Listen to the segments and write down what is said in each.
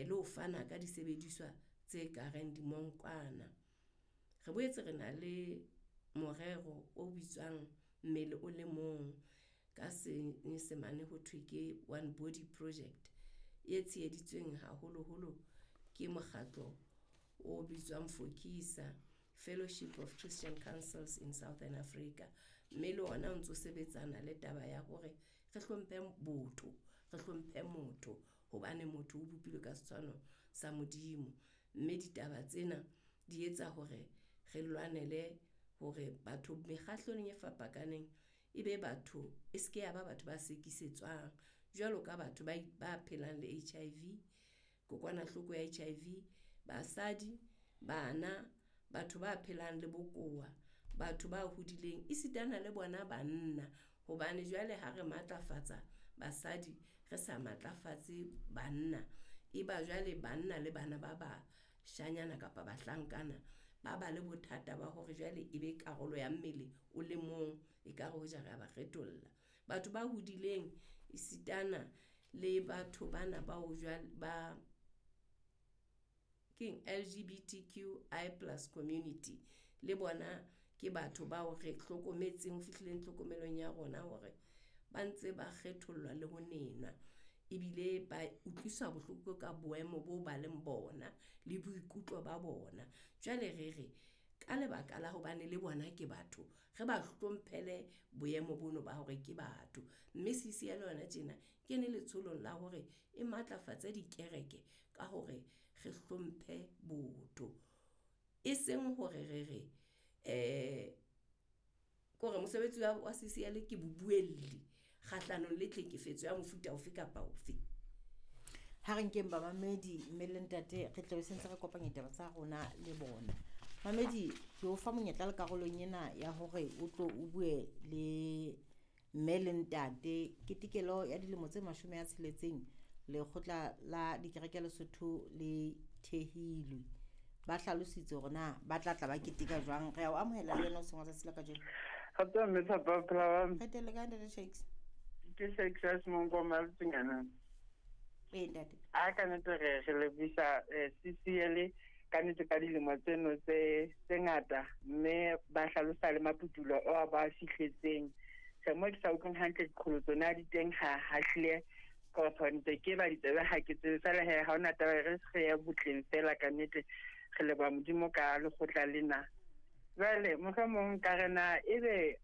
Le ho fana ka disebediswa tse ka reng dimonkwana. Re boetse re na le morero o bitswang Mmele o le Mong, ka Senyesemane ho thwe ke One Body Project, e tsheheditsweng haholoholo ke mokgatlo o bitswang Fokisa, Fellowship of Christian Councils in Southern Africa. Mme le ona o ntso sebetsana le taba ya hore re hlomphe botho, re hlomphe motho, hobane motho o bopilwe ka setshwano sa Modimo. Mme ditaba tsena di etsa hore re lwanele hore batho mekgahlelong e fapakaneng e be batho, e seke ya ba batho ba sekisetswang jwalo ka batho ba phelang le HIV, kokwanahloko ya HIV, basadi, bana, batho ba phelang le bokowa, batho ba hodileng, esitana le bona banna. Hobane jwale ha re matlafatsa basadi, re sa matlafatse banna, e ba jwale banna le bana ba bashanyana kapa bahlankana ba ba le bothata ba hore jwale e be karolo ya mmele o le mong, ekare hoja re a ba kgetholla. Batho ba hodileng esitana le batho bana bao jwale ba keng LGBTQI+ community, le bona ke batho bao re hlokometseng, ho fihlileng tlhokomelong ya rona hore ba ntse ba kgethollwa le ho nenwa, ebile ba utlwiswa bohloko ka boemo bo ba leng bona le boikutlo ba bona. Jwale re re ka lebaka la hobane le bona ke batho, re ba hlomphele boemo bono ba hore ke batho. Mme CCL yona tjena kene letsholong la hore e matlafatse dikereke ka hore re hlomphe botho. E seng hore re re kore mosebetsi wa CCL ke bobuelli kgahlanong le tlhekefetso ya mofuta ofe kapa ofe. Ha re nkeng bamamedi mme le ntate, re tlabe sentse re kopanya ditaba tsa rona le bona. Mamedi, ke o fa monyetla le karolong ena ya hore o tlo o bue le mme le ntate. Ketekelo ya dilemo tse 60 lekgotla la dikereke Lesotho le thehilwe. Ba hlalositse hore na ba tla tla ba keteka jwang. Re a o amohela le wena o seng wa tsatsi la kajeno. Kgotso mme Thapa, o phela jwang? Re teng le kae, ntate Shakes? Ke Shakes ya Semonkoma Letsunyana. Ee, ntate. A ka nnete re lebisa CCL ka nnete ka dilemo tseno tse ngata, mme ba hlalosa le maputulo ao ba fihletseng. Re mo ke sa utlweng hantle diqholotso na di teng ha hlile ka ntse ke ba ditsebe ha ke tsebe fela he ha hona taba, re se ya botleng fela ka nnete re leboha Modimo ka lekgotla lena. Jwale mohlomong ka re na ebe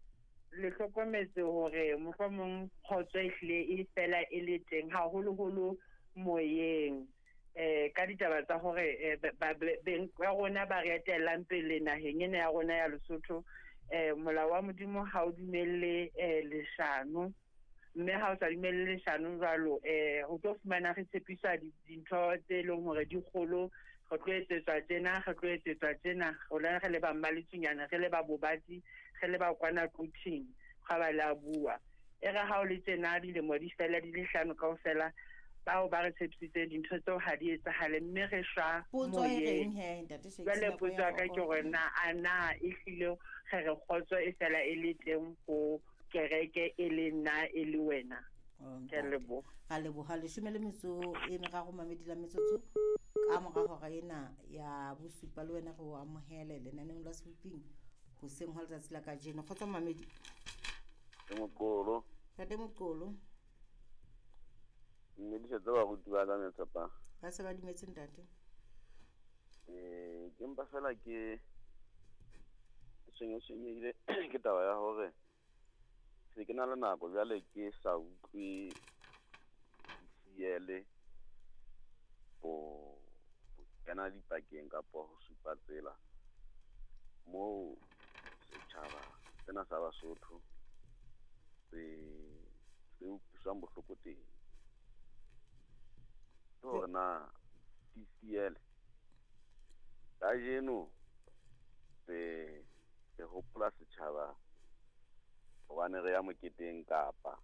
le hlokometse hore mohlomong kgotso e hlile e fela e le teng haholoholo moyeng, ka ditaba tsa hore beng ba rona ba re etellang pele naheng ena ya rona ya Lesotho, molao wa Modimo ha o dumelle leshano, mme ha o sa dumelle leshano jwalo, o tlo fumana re tshepiswa dintho tse leng hore di kgolo, re tlo etsetswa tjena, re tlo etsetswa tjena, rona re le ba Mmaletsunyana, re le ba Bobatsi, re le ba kwana Quthing, ga ba le a bua. E re ha o le tjena dilemo di fela di le hlano kaofela, bao ba re tshepisitseng dintho tseo ha di etsahale, mme re shwa Potso e moyeng. reng he, ntate Shakes? Jwale Nako potso ya ya ka ke fokola. hore na a na e hlile re re kgotso e fela e le teng ho kereke e le nna e le wena? Oh, Ke a ntate. leboha. Ra leboha. 13 mamedi la metsotso ka mora hora ena ya bosupa, le wena re o amohele lenaneong la Seboping hoseng hwa letsatsi la kajeno. Kgotso mamedi. Ke Moqolo. Ntate Moqolo. Mme di setse baruti ba ka metsapa. Ba se ba dumetse ntate. Ke mpa fela ke tshwenyehile ke taba ya hore se ke na le nako jwale ke sa utlwe CCL ho kena dipakeng kapa ho supa tsela moo setjhaba sena sa Basotho se utlwisang bohloko teng. Ke hore na CCL kajeno re hopola setjhaba hobane re ya moketeng, kapa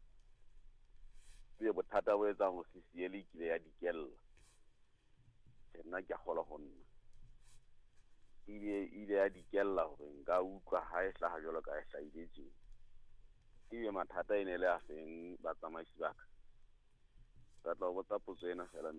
ke bothata bo etsang hore CCL e kile ya dikella. Ke nna ke a kgolwa ho nna ile ya dikella hore nka utlwa ha e hlaha jwalo ka e hlahile tje. Ebe mathata e ne le a feng batsamaisi ba ka? Ke batla ho botsa potso ena fela.